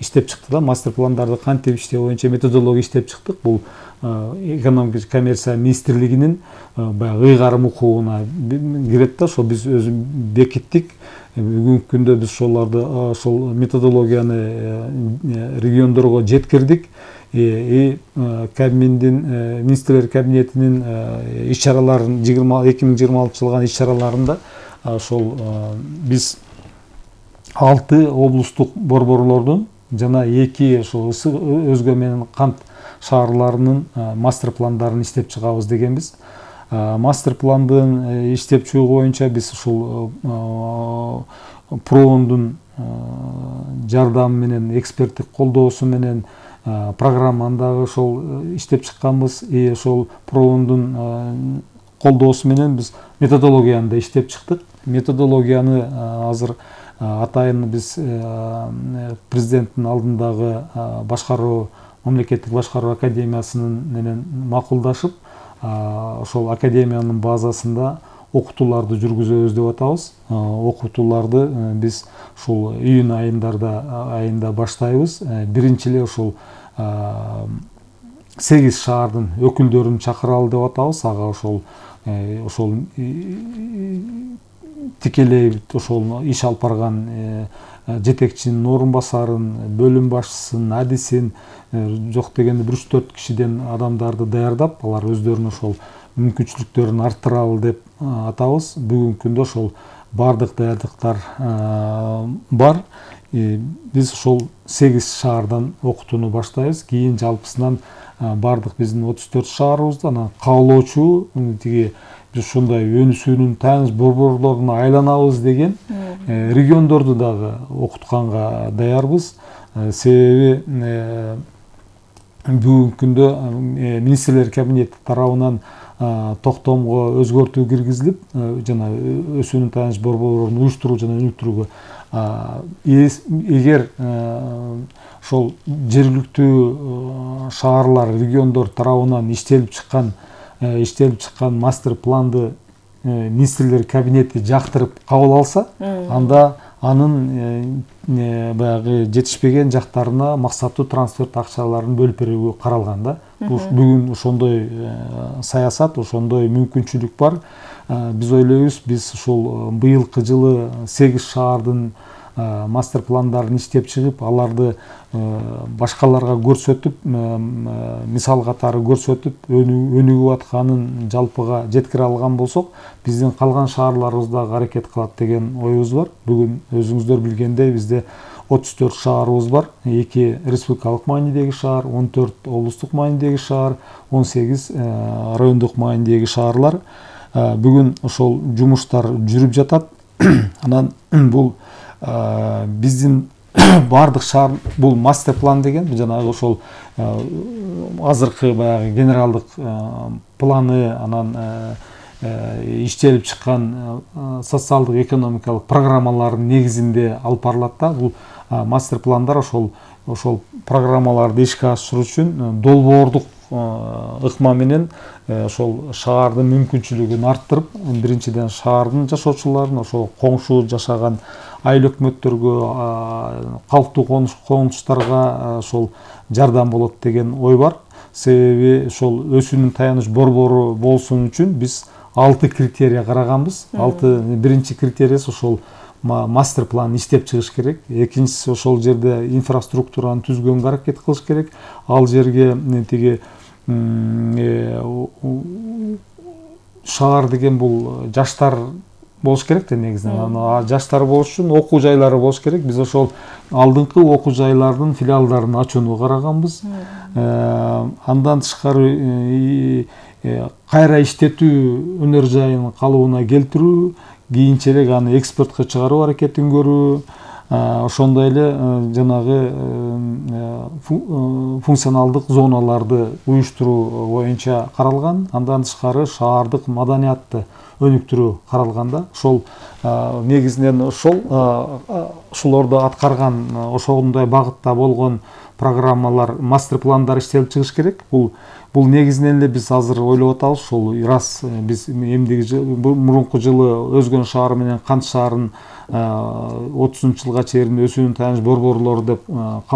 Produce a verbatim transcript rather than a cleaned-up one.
иштеп чыкты да, мастер пландарды кантип иштөө боюнча методология иштеп чыктык. Бул экономика жана коммерция министрлигинин баягы ыйгарым укугуна кирет да. Ошо биз өзү бекиттик. Бүгүнкү күндө биз ошолорду, ошол методологияны региондорго жеткирдик. И Кабминдин, министрлер кабинетинин иш-чараларын эки миң жыйырма алтынчы жылгы иш-чараларында ошол биз алты облустук борборлордун жана эки ошол ысык өзгө менен кант шаарларынын мастер пландарын иштеп чыгабыз дегенбиз. Мастер пландын иштеп чыгуу боюнча биз ушул проондун жардамы менен, эксперттик колдоосу менен программаны дагы ошол иштеп чыкканбыз. И ошол проондун колдоосу менен биз методологияны да иштеп чыктык. Методологияны азыр атайын биз президенттин алдындагы башкаруу, мамлекеттик башкаруу академиясынын менен макулдашып, ошол академиянын базасында окутууларды жүргүзөбүз деп атабыз. Окутууларды биз ушул июнь айындарда айында баштайбыз. Биринчи эле ошол сегиз шаардын өкүлдөрүн чакыралы деп атабыз. Ага ошол ошол тикелей ошол иш алып барган жетекчинин орун басарын, бөлүм башчысын, адисин, жок дегенде бир үч төрт кишиден адамдарды даярдап, алар өздөрүнүн ошол мүмкүнчүлүктөрүн арттыралы деп атабыз. Бүгүнкү күндө ошол бардык даярдыктар бар. Биз ошол сегиз шаардан окутууну баштайбыз. Кийин жалпысынан бардык биздин отуз төрт шаарыбызда анан каалоочу тиги биз ушундай өнүсүүнүн тааныш борборлоруна айланабыз деген региондорду дагы окутканга даярбыз. Себеби бүгүнкү күндө министрлер кабинети тарабынан токтомго өзгөртүү киргизилип, жана өсүүнүн тааныш борборлорун уюштуруу жана өнүктүрүүгө эгер ошол жергиликтүү шаарлар, региондор тарабынан иштелип чыккан иштелип чыккан мастер планды министрлер кабинети жактырып кабыл алса, анда анын баягы жетишпеген жактарына максаттуу трансферт акчаларын бөлүп берүүгө каралган да. Бүгүн ошондой саясат, ошондой мүмкүнчүлүк бар. Биз ойлойбуз, биз ушул быйылкы жылы сегиз шаардын мастер пландарын иштеп чыгып, аларды башкаларга көрсөтүп, мисал катары көрсөтүп, өнүгүп атканын жалпыга жеткире алган болсок, биздин калган шаарларыбыз дагы аракет кылат деген оюбуз бар. Бүгүн өзүңүздөр билгендей бизде отуз төрт шаарыбыз бар. эки республикалык маанидеги шаар, он төрт облустук маанидеги шаар, он сегиз райондук маанидеги шаарлар. Бүгүн ошол жумуштар жүрүп жатат. Анан бул биздин бардык шаар, бул мастер план деген жанагы ошол азыркы баягы генералдык планы, анан иштелип чыккан социалдык экономикалык программалардын негизинде алып барылат да. Бул мастер пландар ошол ошол программаларды ишке ашыруу үчүн долбоордук ыкма менен ошол шаардын мүмкүнчүлүгүн арттырып, биринчиден шаардын жашоочуларын, ошол коңшу жашаган айыл өкмөттөргө, калктуу конуштарга ошол жардам болот деген ой бар. Себеби ошол өсүүнүн таяныч борбору болсун үчүн биз алты критерий караганбыз. Алты биринчи критериясы ошол мастер план иштеп чыгыш керек. Экинчиси ошол жерде инфраструктураны түзгөнгө аракет кылыш керек. Ал жерге тиги шаар деген бул жаштар болуш керек да негизинен. Жаштар болуш үчүн окуу жайлары болуш керек. Биз ошол алдыңкы окуу жайлардын филиалдарын ачууну караганбыз. Андан тышкары кайра иштетүү өнөр жайын калыбына келтирүү, кийинчерээк аны экспортко чыгаруу аракетин көрүү, ошондой эле жанагы функционалдык зоналарды уюштуруу боюнча каралган. Андан тышкары шаардык маданиятты өнүктүрүү каралган да. Ошол негизинен ошол ошолорду аткарган, ошондой багытта болгон программалар, мастер пландар иштелип чыгыш керек. Бул бул негизинен эле биз азыр ойлоп атабыз. Ошол раз биз эмдиги жылы, мурунку жылы Өзгөн шаары менен Кант шаарын отузунчу жылга чейин өсүүнүн таяныч борборлору деп